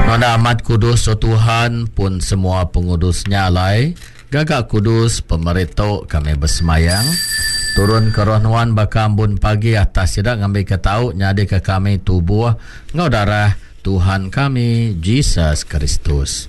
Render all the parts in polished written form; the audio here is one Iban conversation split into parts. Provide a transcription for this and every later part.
Nuan amat kudus, O Tuhan, pun semua pengudus nya alai, gaga kudus pemeri tu kami besemayang. Turun ke roh nuan baka ambun pagi atas sida ngambika tau nyadika kami tubuh enggau darah Tuhan kami, Jesus Kristus.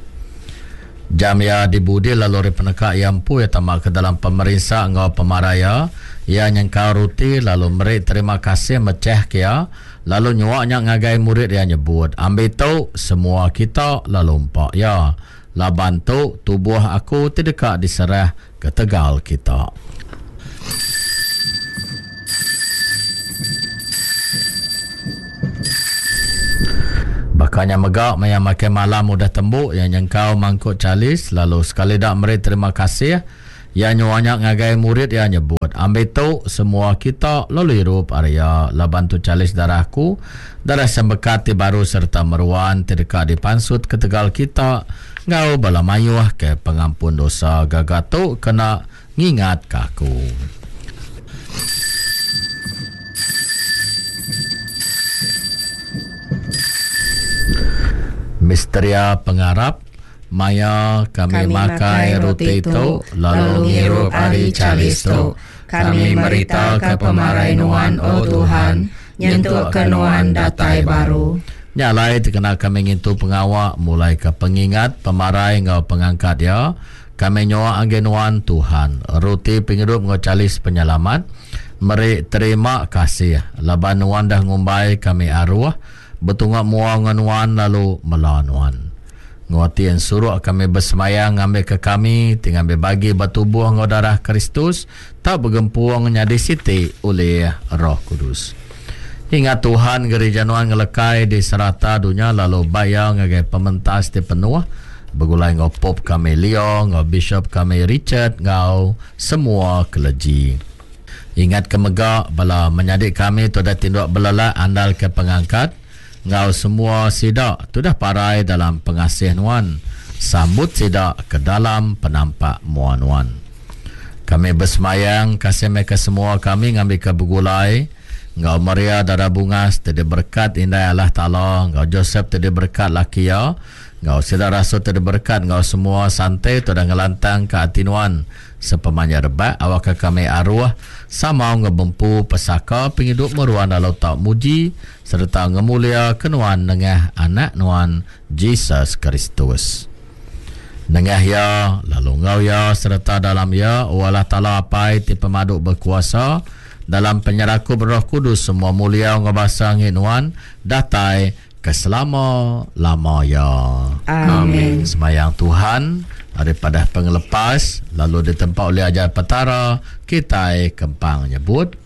Jam iya dibudi lalu ari peneka iya empu iya tama ke dalam pemerinsa enggau pemarai iya, iya nyengkau ruti lalu meri terima kasih mechah ke iya, lalu nyua nya ngagai murid iya nyebut, Ambi tu, semua kita, lalu empa iya, laban tu tubuh aku ti deka diserah ketegal kita. Baka nya mega maya makai malam udah tembu iya nyengkau mangkuk chalis lalu sekali da meri terima kasih iya nyua nya ngagai murid iya nyebut, Ambi tu semua kita lalu irup ari iya laban tu chalis darah aku, darah sembekat ti baru sereta meruan ti deka dipansut ketegal kita enggau bala mayuh ke pengampun dosa gaga tu kena Ngingatka aku. Misteria pengarap maya kami, kami makai roti tu lalu ngirup ari chalis tu, kami meritaka pemarai Nuan, O Tuhan, nyentukka Nuan datai baru. Nya alai dikena kami ngintu pengawa mulaika pengingat pemarai enggau pengangkat iya, Kami nyua agi Nuan, Tuhan, ruti pengidup enggau chalis penyelamat, meri terima kasih laban Nuan dah ngumbai kami aruh betunga mua enggau Nuan lalu mela Nuan. Enggau ati ensuruk kami besemaya ngambika kami ti ngambi bagi ba tubuh enggau darah Kristus tau begempung nyadi siti ulih Roh Kudus. Ingat Tuhan gerija nuan ngelekai di serata dunya lalu bai iya ngagai pementas ti penuh begulai enggau Pope kami Leo enggau Bishop kami Richard enggau semua keleji. Ingat ke mega bala menyadi kami ti udah tinduk belelak andal ke pengangkat enggau semua sida ti udah parai dalam pengasih nuan sambut sida ke dalam penampak mua nuan. Kami besemayang kasih meh ke semua kami ngambika begulai enggau Maria Dara Bungas ti diberekat Indai Allah Taala, enggau Josep ti diberekat laki iya, enggau sida rasul ti diberekat enggau semua sante ti udah ngelantangka ati nuan sepemanjai rebak, awakka kami aruh sama enggau bempu pesaka pengidup meruan lalu tau muji sereta ngemuliaka nuan nengah Anak nuan, Jesus Kristus. Nengah Iya, lalu enggau Iya sereta dalam Iya, O Allah Taala Apai ti Pemadu Bekuasa, dalam penyerakup Roh Kudus semua mulia enggau basa enggi Nuan datai ke selama-lama iya. Amin. Semayang Tuhan ari padah pengelepas lalu ditempa ulih ajar Petara kitai kempang nyebut.